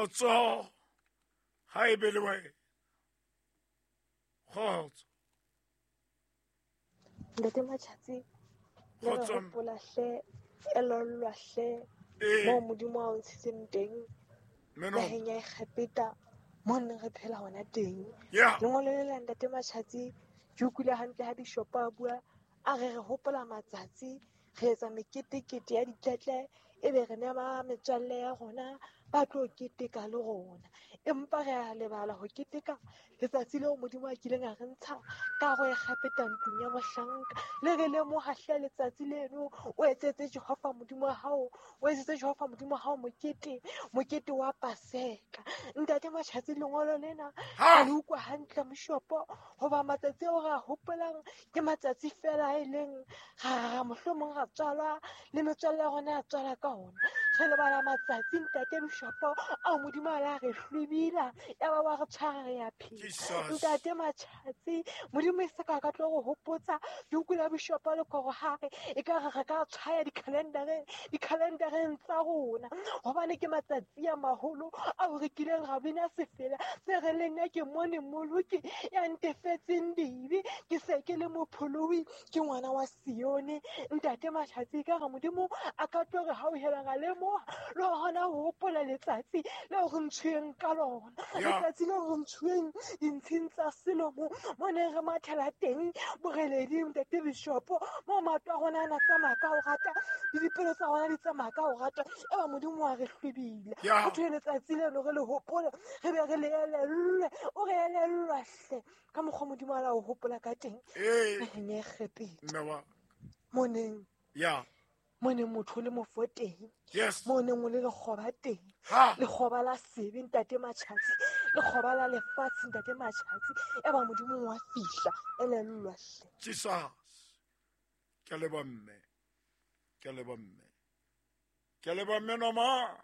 Kgotso ha e be le wena. Kgotso. Ntate Matjhatsi, le re Kgotso. hopola hle, elellwa hle Ee. moo Modimo a o ntshitseng teng Meno. naheng ya Egepeta mo neng re phela hona teng. Yeah. Lengolo le la Ntate Matjhatsi ke utlwile hantle ha bishopo a bua a re re hopola matsatsi re etsa meketekete ya ditletle ebe re nema metswalle ya rona ba tlo keteka le rona, empa re a lebala ho keteka letsatsi leo Modimo a kileng a re ntsha ka go Egepeta ntlong ya bohlanka. Le re lemoha hle letsatsi leno, o etsetse Jehova Modimo wa hao, o etsetse Jehova Modimo wa hao mokete, mokete wa Paseka. Ntate Matjhatsi, lengolo lena Ha! a le utlwa hantle moshopo, hoba matsatsi ao re a hopolang ke matsatsi fela a e leng ra mohlomong ra tswalwa le metswalle ya rona ya tswalwa ka ona. Re lebala matsatsi ntate Bishopo ao Modimo a la re hlwibila, ya ba wa re tshwara re ya phela. Jesus. Ntate Matjhatsi, Modimo e se ka ka tlo re hopotsa, ke utlwile Bishopo le koro hare e ka re re ka tshwaya dikhalendareng tsa rona, hobane ke matsatsi a maholo ao re kileng ra bina sefela se re le nna ke mone Mmoloki ya ntefetseng dibe, ke se ke le mopholohi, ke ngwana wa Sione. Ntate Matjhatsi, ka re Modimo a ka tlo re hauhela ra lemoha le hona ho hopola letsatsi leo re ntshuweng ka lona, Yeah. letsatsi leo re ntshuweng dintshing tsa selomo mo neng re mathela teng boreleding ntate Bishopo, mo maoto a rona a na tsamaya ka ho rata le dipelo tsa rona di tsamaya ka ho rata, eba Modimo wa re hlwibile. Yeah. Ho thwe letsatsi leno re le hopole, re be re le elellwe, o re elellwa hle ka mokgwa Modimo a la o hopola ka teng Ee. naheng ya Egepeta. Mme wa. Mo neng Yeah. mo neng motho o le mofo teng, Yes. mo neng o le lekgoba teng, Ha. lekgoba la sebe ntate Matjhatsi, lekgoba la lefatshe ntate Matjhatsi, eba Modimo wa fihla, elellwa hle. Jesus. Ke a leboha mme. Ke a leboha mme. Ke a leboha mme Noma.